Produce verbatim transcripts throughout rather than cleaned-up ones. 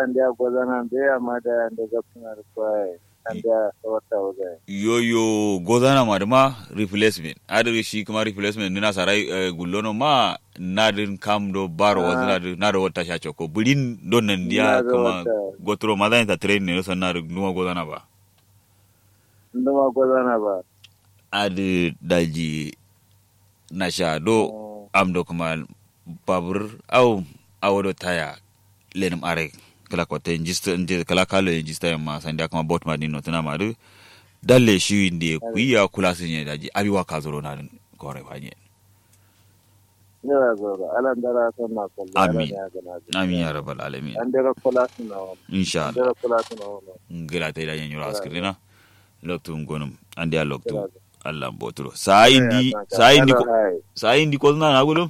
Andeya gozana mbeyi amma dayi ande gabsuna dǝ kwaye. Andeya sawatta wuzaye. Yoyo gozana ma dǝma replacement adǝ shi kǝma replacement dǝ nasarai gullono ma. Nadǝn kam do baro wazǝna dǝ nado watta sha cokko bǝrin do nandiya kǝma. Goturo mazani ta train ne do sanna dǝ nduma gozana ba. Nduma gozana ba. Adǝ daji nasha do. Am do kǝma babur au awo do taya lenǝm are kǝla kotte njista kǝla kalo ye njista yamma sandiya kǝma bot ma din notǝna ma dǝ. Dalle shi nde kuyi ya kula sǝnye daji abi wa kazuro nadǝn kore fanye. Amin ya rabbal alamin. Insha Allah. Ngla tai da nyanyiro askirina. Loktu ngonum andiya loktu. Allah mboturo sa indi sa indi ko sa indi ko na na gulum.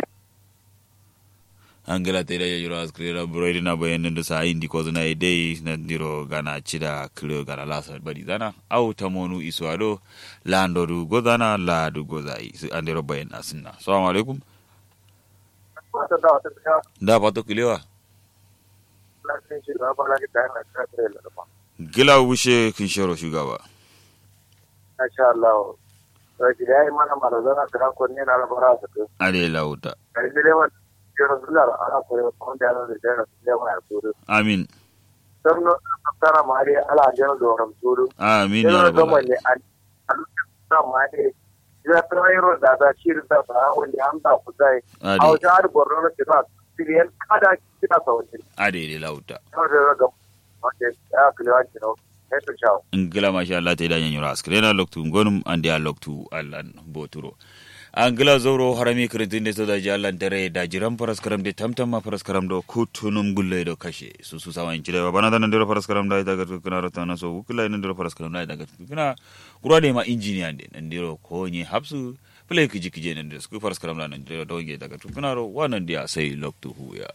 Angla tai da nyanyiro askirina buroi dina bayan ndu sa indi ko na dai na diro gana cida kiro gana lasa bari zana. Au tamonu iswa do. Lando du gozana ladu gozayi andiro bayan asinna. Assalamu alaikum. Nda fato kilewa. Gla wushe kinshero shugaba. Masha Allah. Ade lauta. Amin. Amin ya rabbal. Ade. Ade de lauta. Ngla masha Allah tai da nyanyiro askirina loktu ngonum andiya loktu allan boturo. Angla zauro harami kǝrǝntǝn de so daji allan dare daji ram faraskaram de tamtam ma faraskaram do kuttunum gullo ye do kashe susu sawa inci dai ba bana da nandiro faraskaram da ita gatku kǝna rota naso wukula nandiro faraskaram da ita gatku kǝna. Kura de ma injiniya de nandiro konye hapsu. Fǝlai kǝji kǝje nandiro sukǝ faraskaram da nandiro do nge ita gatku kǝna ro wa nandiya sai loktu huya.